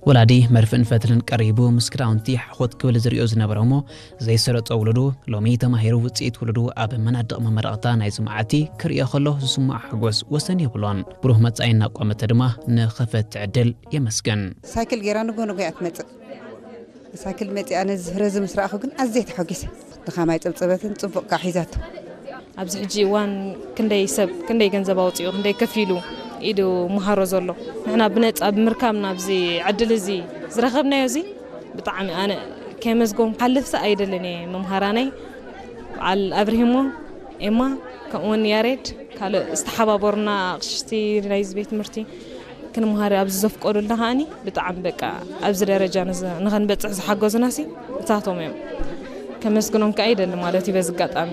ወላዲ መርፍእን ፈትልን ቀሪቡ ምስ ክዳውንቲ ሓኾት ክብል ዝሪኦ ዝነበረ እሞ ዘይሰለጦ ውሉዱ፣ ሎሚ ተማሂሩ ውፅኢት ውሉዱ ኣብ መናድቕ መመረቕታ ናይዚ መዓልቲ ክርእዮ ከሎ ዝስምዖ ሓጎስ ወሰን የብሉን። ብሩህ መጻኢ እናቋመተ ድማ ንኸፈት ዕድል የመስግን። ሳይክል ገይራ ንጎ ንጎ እያ ትመጽእ። ሳይክል መጺኣ ነዚ ፍረ እዚ ምስ ረኣኹ ግን ኣዝየ ተሓጒሰ። ድኻማይ ጸብጸበትን ጽቡቕ ከዓ ሒዛቶ። ኣብዚ ሕጂ እዋን ክንደይ ሰብ ክንደይ ገንዘብ ኣውፂኡ ክንደይ ከፊሉ ኢዱ መሃሮ ዘሎ። ንሕና ብነፃ ብምርካብና ኣብዚ ዕድል እዚ ዝረኸብናዮ እዚ ብጣዕሚ ኣነ ከመስግኖም ክሓልፍስ ኣይደልን እየ። መምሃራነይ በዓል ኣብርሂሞ፣ ኤማ፣ ከምኡውን ያሬድ፣ ካልእ ዝተሓባበሩና ኣቕሽቲ ናይዚ ቤት ትምህርቲ ክንመሃር ኣብዚ ዘፍቀዱልና ከዓኒ ብጣዕሚ በቃ ኣብዚ ደረጃ ንኸንበፅሕ ዝሓገዙና ሲ እሳቶም እዮም። ከመስግኖም ከዓ ይደሊ ማለት እዩ በዚ ኣጋጣሚ።